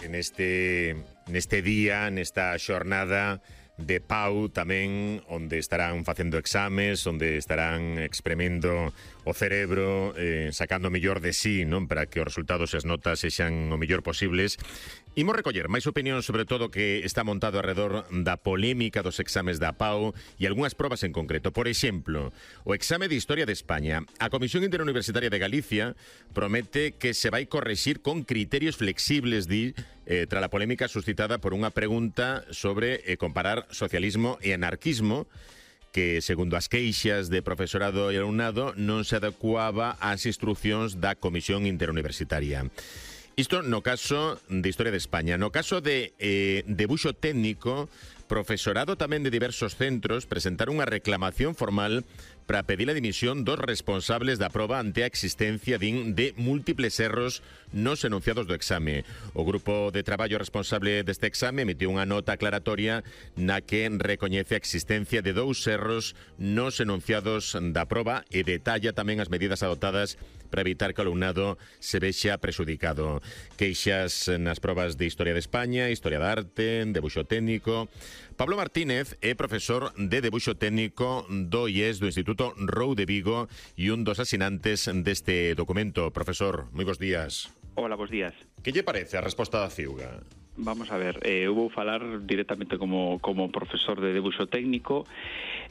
neste día, nesta xornada de Pau tamén, onde estarán facendo exames, onde estarán expremendo o cerebro, sacando o mellor de sí, non, para que os resultados e as notas sexan o mellor posibles. Imos recoller máis opinión sobre todo que está montado alrededor da polémica dos exames da Pau e algunhas probas en concreto. Por exemplo, o exame de Historia de España. A Comisión Interuniversitaria de Galicia promete que se vai correxir con criterios flexibles, tras a polémica suscitada por unha pregunta sobre comparar socialismo e anarquismo, que, segundo as queixas de profesorado e alumnado, non se adecuaba ás instruccións da Comisión Interuniversitaria. Isto no caso de Historia de España. No caso de debuxo técnico, profesorado tamén de diversos centros presentaron unha reclamación formal para pedir a dimisión dos responsables da proba ante a existencia de múltiples erros nos enunciados do exame. O grupo de traballo responsable deste exame emitiu unha nota aclaratoria na que recoñece a existencia de 2 erros nos enunciados da proba e detalla tamén as medidas adoptadas para evitar que o alumnado se vexa prexudicado. Queixas nas probas de Historia de España, Historia de Arte, Debuxo Técnico. Pablo Martínez é profesor de Debuxo Técnico do IES do Instituto ROU de Vigo e un dos asinantes deste documento. Profesor, moi bons días. Hola, bons días. Que lle parece a resposta da CIUGA? Vamos a ver, eu vou falar directamente como profesor de debuxo técnico.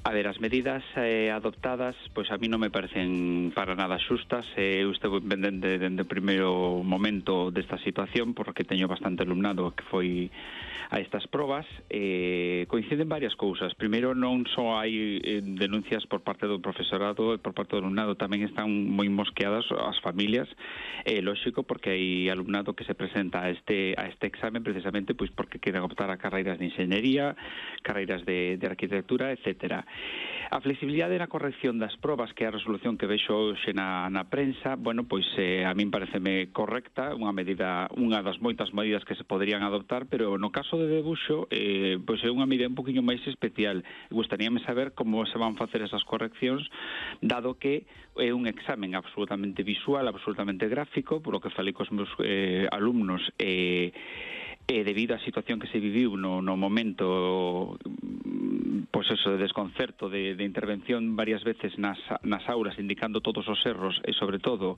A ver, as medidas adoptadas, pois a mí non me parecen para nada xustas. Eu estou pendente dende o primeiro momento desta situación, porque teño bastante alumnado que foi a estas probas. Coinciden varias cousas. Primeiro, non só hai denuncias por parte do profesorado e por parte do alumnado, tamén están moi mosqueadas as familias. Lóxico, porque hai alumnado que se presenta a este examen precisamente pois porque queren optar a carreiras de enxeñería, carreiras de arquitectura, etcétera. A flexibilidade na corrección das probas, que é a resolución que vexo hoxe na prensa, bueno, pois a min pareceme correcta, unha das moitas medidas que se poderían adoptar, pero no caso de debuxo, pois é unha medida un poquinho máis especial. Gustaríame saber como se van facer esas correccións, dado que é un examen absolutamente visual, absolutamente gráfico, por lo que falei cos meus alumnos, debido á situación que se viviu no momento, pois eso, de desconcerto, de intervención varias veces nas aulas, indicando todos os erros e, sobre todo,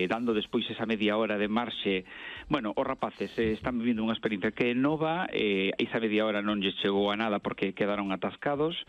dando despois esa media hora de marxe. Bueno, os rapaces están vivindo unha experiencia que é nova, esa media hora non lles chegou a nada porque quedaron atascados,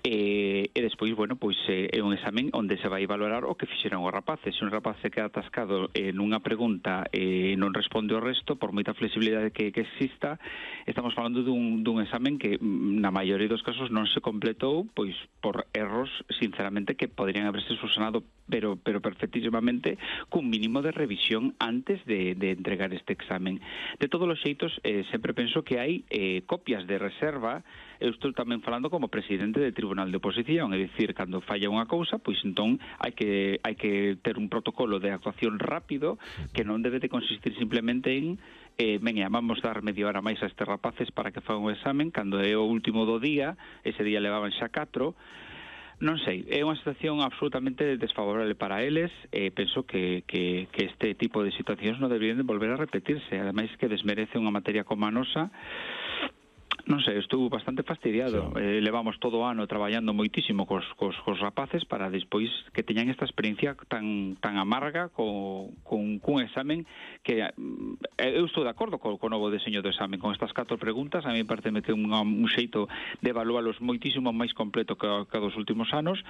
e despois, bueno, pois é un examen onde se vai valorar o que fixeron os rapaces. Se un rapaz se queda atascado nunha pregunta e non responde o resto, por moita flexibilidade que exista, estamos falando dun examen que na maioría dos casos non se completou pois por erros, sinceramente, que poderían haberse subsanado pero perfectísimamente cun mínimo de revisión antes de entregar este examen. De todos os xeitos, sempre penso que hai copias de reserva. Eu estou tamén falando como presidente de Tribunal de Oposición, é dicir, cando falla unha cousa, pois entón hai que ter un protocolo de actuación rápido que non debe de consistir simplemente en veña, vamos dar media hora máis a estes rapaces para que fagan o examen, cando é o último do día, ese día levaban xa 4. Non sei, é unha situación absolutamente desfavorable para eles. Penso que este tipo de situacións non deberían de volver a repetirse, ademais que desmerece unha materia como a nosa. Non sei, estou bastante fastidiado. Sí. Levamos todo o ano traballando moitísimo cos rapaces para despois que teñan esta experiencia tan amarga cun examen que eu estou de acordo co novo deseño do examen, con estas 4 preguntas. A mí pareceme que un xeito de evalualos moitísimo máis completo que dos últimos anos,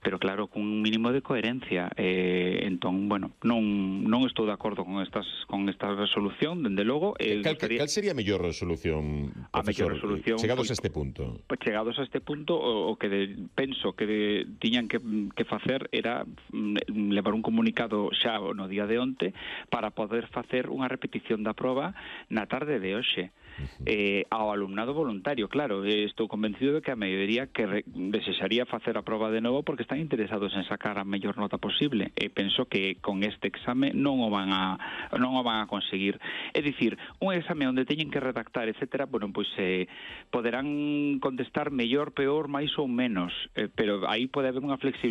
pero claro, cun mínimo de coherencia. Entón, bueno, non estou de acordo con esta resolución, dende logo. Cal sería a mellor resolución, profesor? Chegados a este punto. Chegados a este punto, o que penso que tiñan que facer era levar un comunicado xa no día de onte para poder facer unha repetición da proba na tarde de hoxe. Ao alumnado voluntario, claro, estou convencido de que a maioría que desexaría facer a proba de novo porque están interesados en sacar a mellor nota posible, e penso que con este exame non o van a conseguir. É dicir, un exame onde teñen que redactar, etcétera, bueno, pois poderán contestar mellor, peor, máis ou menos, pero aí pode haber unha flexibilidade